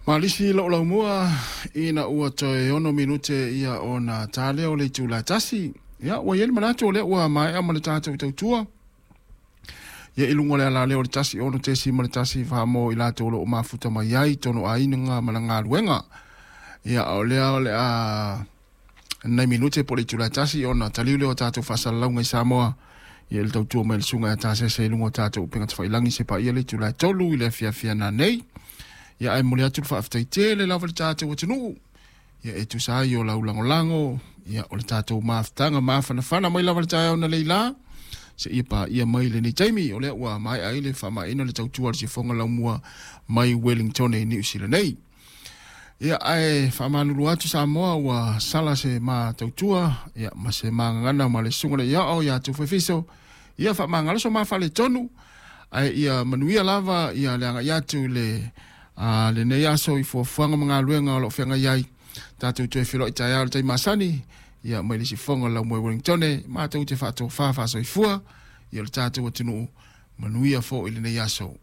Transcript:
Malisi lo'u laumua ina ua toe 6 minute ia ona ta lea o le itula e 1. Ia ua i ai le manatu o lea ua maea ma le tatou tautua ia i luga o le alaleo o le 106.1 mo i latou o lo o mafuta mai ai tonu aiga ma le galuega. Ia o lea o le a nai minute po o le itula e 1 ona taliu lea o tatou faasalalauga i Samoa ia i le tautua mai le susuga ia Tasese i luga o tatou upega tafailagi se paia le itula e 3 i le afiafi a nanei. Ia ae momoli atu le faafetai tele lava i le tatou atunuu ia e tusa ai o lau lagolago ia o le tatou mafutaga mafanafana mai lava le taeao na leila seia paia mai lenei taimi o lea ua maea ai le faamaeaina le tautua a le sifoga laumua mai Wellington i Niu Sila nei. Ia ae faamalulu atu Samoa ua sala se ma tautua ia ma se magagana ma le susuga le Iao ia Tufuefiso ia faamagalo so ma faaletonu ae ia manuia lava ia le agai atu i le lenei aso i fuafuaga ma galuega o lo o feagai ai tatou toe feiloai taeao i le taimi masani ia mai le sifoga o le laumua i Wellington matou te faatofa faasoifua ia le tatou atunuu manuia foi lenei aso.